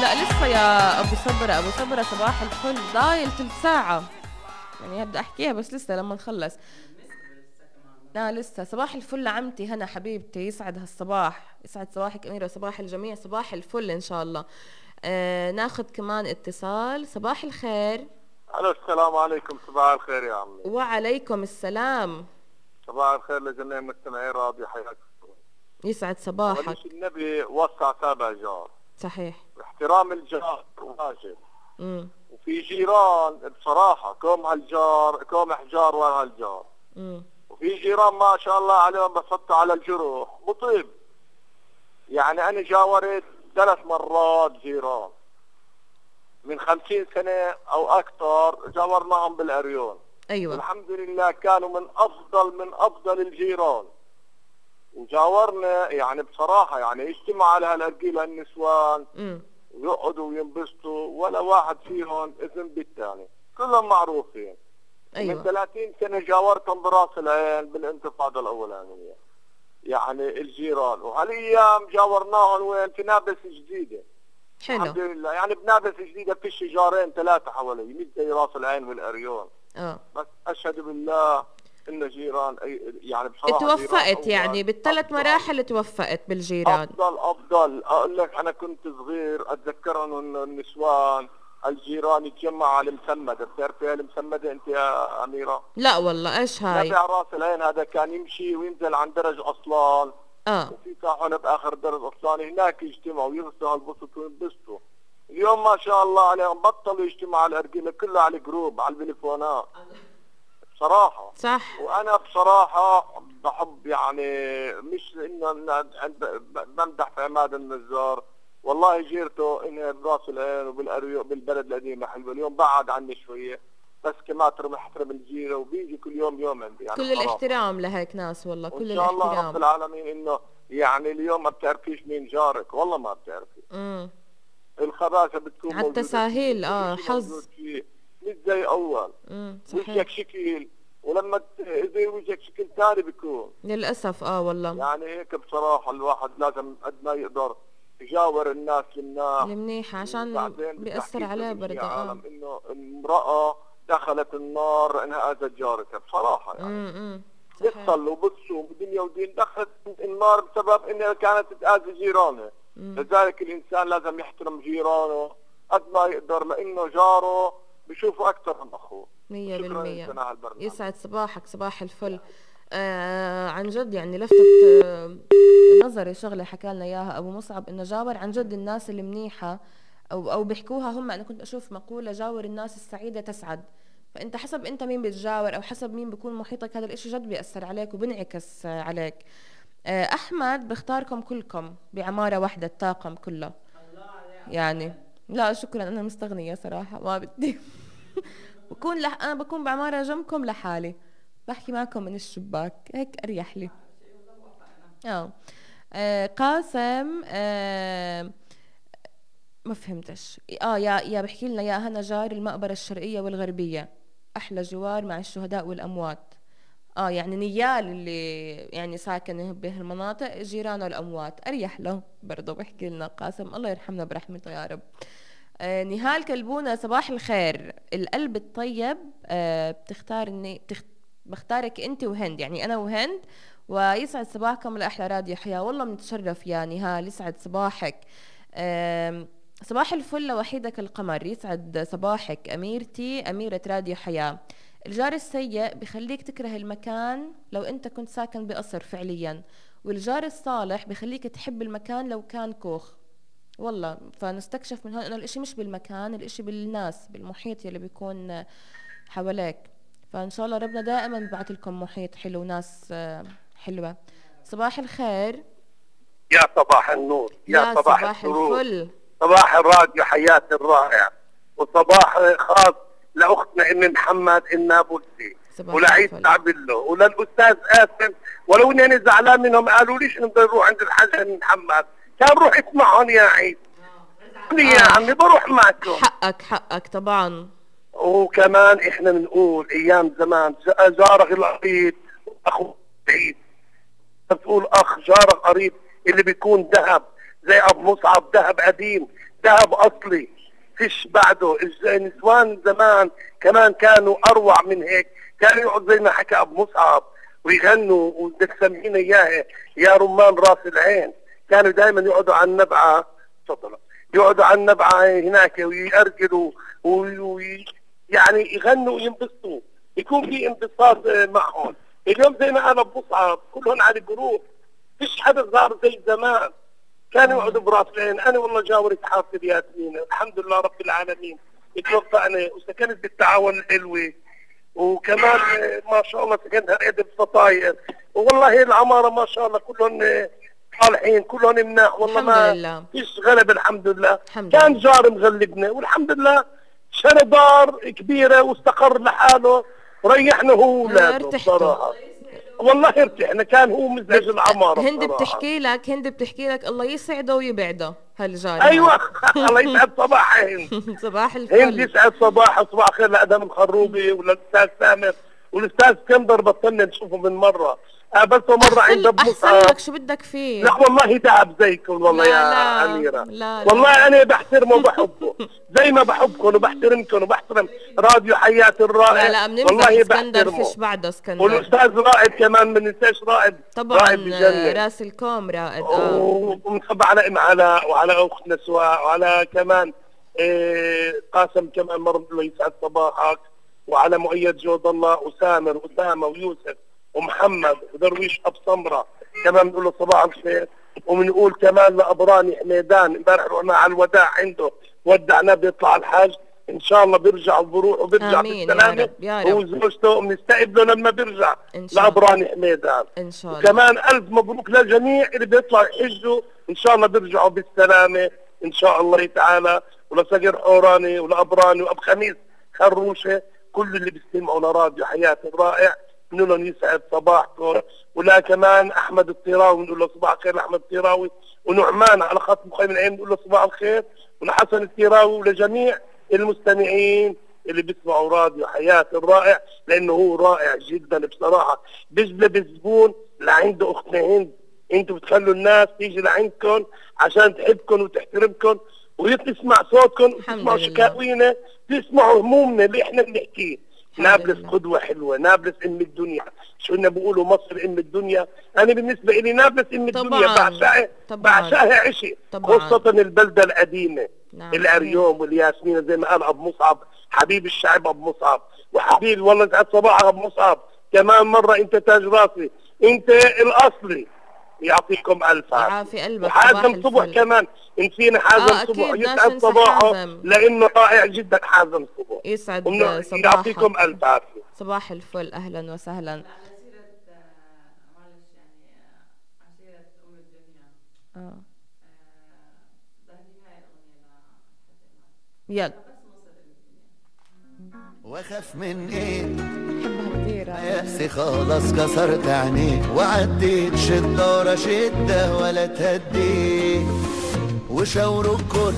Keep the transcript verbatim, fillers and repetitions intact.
لا لسه يا ابو صبرة، ابو صبرة صباح الفل، ضايل تلت ساعة يعني بدي احكيها بس لسه لما نخلص. لا لسه. صباح الفل عمتي هنا حبيبتي، يسعد هالصباح، يسعد صباحك أميرة، صباح الجميع، صباح الفل إن شاء الله. آه ناخد كمان اتصال. صباح الخير. الو السلام عليكم. صباح الخير يا عمي. وعليكم السلام. صباح الخير لجميع مستمعي راديو حياك. يسعد صباحك. وليش النبي وصى سابع جار. صحيح. احترام الجار واجب. امم وفي جيران بصراحة كوم هالجار كوم حجار ورا هالجار. امم وفي جيران ما شاء الله عليهم بحطوا على الجروح مطيب. يعني انا جاورت ثلاث مرات جيران من خمسين سنة او اكثر، جاورناهم بالاريون. ايوه الحمد لله كانوا من افضل من افضل الجيران. وجاورنا يعني بصراحة يعني يجتمع على هالارجيل هالنسوان امم ويقعدوا وينبسطوا، ولا واحد فيهم اذن بالثاني، كلهم معروفين. ايوه من ثلاثين سنة جاورتهم براس العين بالانتفاضة الاولانية يعني الجيران، وهالايام جاورناهم وين في نابلس جديدة. حلو الحمد لله يعني بنابلس جديدة في شجارين ثلاثة حوالي مش زي راس العين والاريون. اه بس اشهد بالله ان جيران يعني بصراحه توفقت يعني بالثلاث مراحل، توفقت بالجيران. افضل افضل اقول لك انا كنت صغير اتذكر انه النسوان الجيران يتجمعوا على المسمده، بتعرفي المسمده انت يا اميره؟ لا والله ايش هاي؟ نبع راس العين هذا كان يمشي وينزل عن درج اصلان. اه وفي طاحونه باخر درج اصلان، هناك يجتمعوا ويغسلوا هالبسط وينبسطوا. اليوم ما شاء الله عليهم بطلوا يجتمعوا على الارجيله، كلها على الجروب على التليفونات بصراحة. صح. وأنا بصراحة بحب يعني مش إنه بمدح في عماد النجار، والله جيرته إنها براس العين وبالأريو بالبلد القديمة حلوة. اليوم بعد عني شوية بس كمان ترى محترم الجيرة وبيجي كل يوم يوم عندي يعني. كل الاحترام لهيك ناس والله، كل الاحترام. إن شاء الله رب الاحترام. العالمين إنه يعني اليوم ما بتعرفيش مين جارك، والله ما بتعرفي. امم الخباثة بتكون على التساهيل. اه حظ مش زي أول. امم وجهك شكل ولما اذا وجهك شكل ثاني بيكون للاسف. اه والله يعني هيك بصراحه الواحد لازم قد ما يقدر يجاور الناس المناح المنيحة عشان بيأثر عليه برضه. اه انه امراه دخلت النار انها اذت جارتها بصراحه يعني. امم بتصلي وبتصوم بدنيا ودين، دخلت النار بسبب انها كانت تاذي جيرانها. لذلك الانسان لازم يحترم جيرانه قد ما يقدر، لانه جاره بشوفه اكثر من اخوه. مية بالمية. يسعد صباحك، صباح الفل. آه عن جد يعني لفتت آه نظري شغله حكى لنا اياها ابو مصعب، انه جاور عن جد الناس المنيحه، او او بيحكوها هم. انا كنت اشوف مقوله جاور الناس السعيده تسعد. فانت حسب انت مين بتجاور او حسب مين بيكون محيطك، هذا الاشي جد بيأثر عليك وبنعكس آه عليك. آه احمد بختاركم كلكم بعماره واحده، الطاقم كله يعني. لا شكرا انا مستغنيه صراحه ما بدي. بكون لح... انا بكون بعماره جنبكم لحالي، بحكي معكم من الشباك هيك اريح لي. اه, آه قاسم آه ما فهمتش. اه يا يا بحكي لنا يا هنا جار المقبره الشرقيه والغربيه احلى جوار مع الشهداء والاموات. اه يعني نيال اللي يعني ساكن بهالمناطق جيرانه الاموات اريح له برضه. بحكي لنا قاسم الله يرحمنا برحمته يا رب. آه نهال كلبونة صباح الخير. القلب الطيب آه بتختارني بتخت... بختارك انت وهند، يعني انا وهند. ويسعد صباحكم لاحلى راديو حياه. والله بنتشرف يا نهال، يسعد صباحك. آه صباح الفل لوحيدك القمر، يسعد صباحك اميرتي اميره راديو حياه. الجار السيء بخليك تكره المكان لو انت كنت ساكن بقصر فعليا، والجار الصالح بخليك تحب المكان لو كان كوخ. والله فنستكشف من هون انه الاشي مش بالمكان، الاشي بالناس بالمحيط يلي بيكون حواليك. فان شاء الله ربنا دائما ببعث لكم محيط حلو وناس حلوة. صباح الخير. يا صباح النور. يا, يا صباح, صباح الفل. صباح الراديو حياة الرائع، وصباح خاص لاختنا ام محمد النابلسي ولعيد تعبله وللاستاذ قاسم. ولو اني انا زعلان منهم قالوا ليش نقدر نروح عند الحاج محمد، كان روح اسمعهم يا عيد. آه. يا عمي بروح معكم. حقك حقك طبعا. وكمان احنا بنقول ايام زمان جارك القريب اخو بعيد، بتقول اخ جارك قريب اللي بيكون ذهب زي ابو مصعب، ذهب قديم، شاب اصلي فيش بعده. النسوان زمان كمان كانوا اروع من هيك، كانوا يقعدوا زي ما حكى ابو مصعب ويغنوا، وبدك تسمينا اياه يا رمان راس العين. كانوا دائما يقعدوا على النبعه، تفضل، يقعدوا على النبعه هناك ويأرجلوا وي يعني يغنوا وينبسطوا، يكون في انبساط معهم. اليوم زي ما قال ابو مصعب كلهم على الجروب، فيش حدا صار زي زمان. كانوا يقعدوا براس العين. انا والله جاورت حافظ ياسمين الحمد لله رب العالمين، اتوفقنا وسكنت بالتعاون الحلوه، وكمان ما شاء الله سكنتها عدة فطاير، والله العماره ما شاء الله كلهم صالحين، كلهم مناح والله. ما فيش غلب الحمد لله. الحمد كان لله. جار مغلبنا والحمد لله، شرى دار كبيره واستقر لحاله وريحنا هو وولاده بصراحه. والله ارتحنا، كان هو مزعج العماره. هند بتحكي لك هند بتحكي لك الله يسعده ويبعده هالجار. ايوه الله يسعد صباحها هند. صباح الفل. هند يسعد صباحها، صباح خير لادم الخروبي وللاستاذ سامر والاستاذ اسكندر. بطلنا نشوفه من مره، قابلته مره عند ابو مصعب. احسن لك، شو بدك فيه؟ لا والله تعب زيكم والله لا يا لا اميره. لا والله لا. انا بحترمه وبحبه زي ما بحبكم وبحترمكم وبحترم راديو حياه الرائع. لا لا بنمزح. اسكندر فيش بعده اسكندر. والاستاذ رائد كمان، ما ننساش رائد طبعا، رائد راس الكوم رائد. اه ومنصب على ام علاء وعلى اختنا سواء وعلى كمان إيه قاسم كمان مره الله يسعد صباحك، وعلى مؤيد جود الله وسامر واسامه ويوسف ومحمد ودرويش اب سمره كمان بنقول له صباح الخير. وبنقول كمان لابراني حميدان، امبارح رحنا على الوداع عنده ودعناه بيطلع الحاج، ان شاء الله بيرجع بروح وبيرجع بالسلامه هو وزوجته، وبنستقبله لما بيرجع لابراني حميدان ان شاء الله. كمان الف مبروك للجميع اللي بيطلعوا يحجوا، ان شاء الله بيرجعوا بالسلامه ان شاء الله تعالى. ولصقر حوراني ولابراني واب خميس خروشه، كل اللي بيستمعوا لراديو حياه الرائع بنقول لهم يسعد صباحكم. ولا كمان احمد الطيراوي بنقول له صباح الخير لاحمد الطيراوي، ونعمان على خط مخيم العين بنقول له صباح الخير، ولحسن الطيراوي ولجميع المستمعين اللي بيسمعوا راديو حياه الرائع، لانه هو رائع جدا بصراحه. بيجذب الزبون لعنده اختنا هند. انتوا بتخلوا الناس تيجي لعندكم عشان تحبكم وتحترمكم وتسمع صوتكم وتسمعوا شكاوينا، تسمعوا همومنا اللي احنا بنحكيه. نابلس قدوة حلوة، نابلس ام الدنيا. شو هن بيقولوا مصر ام الدنيا، انا بالنسبة لي نابلس ام الدنيا، بعشقها بعشقها عشق، خاصة البلدة القديمة. نعم. الاريوم والياسمين زي ما قال ابو مصعب، حبيب الشعب ابو مصعب، وحبيب والله يسعد صباحك ابو مصعب. كمان مرة انت تاج راسي، انت الاصلي. يعطيكم الف عافية قلبك. وحازم صبح كمان، نسينا حازم آه صبح، يسعد صباحه لانه رائع جدا حازم صبح. يسعد صباحك. يعطيكم الف عافية. صباح الفل، اهلا وسهلا. على سيرة معلش يعني على سيرة ام الدنيا، اه بدي هاي الاغنية لحسن يلا. بس مصر ام الدنيا. واخاف من ايه؟ بحبها كثير. ياسي خلاص كسرت عينيه، وعديت شدة ورا شدة ولا تهديه، وشاوروا الكل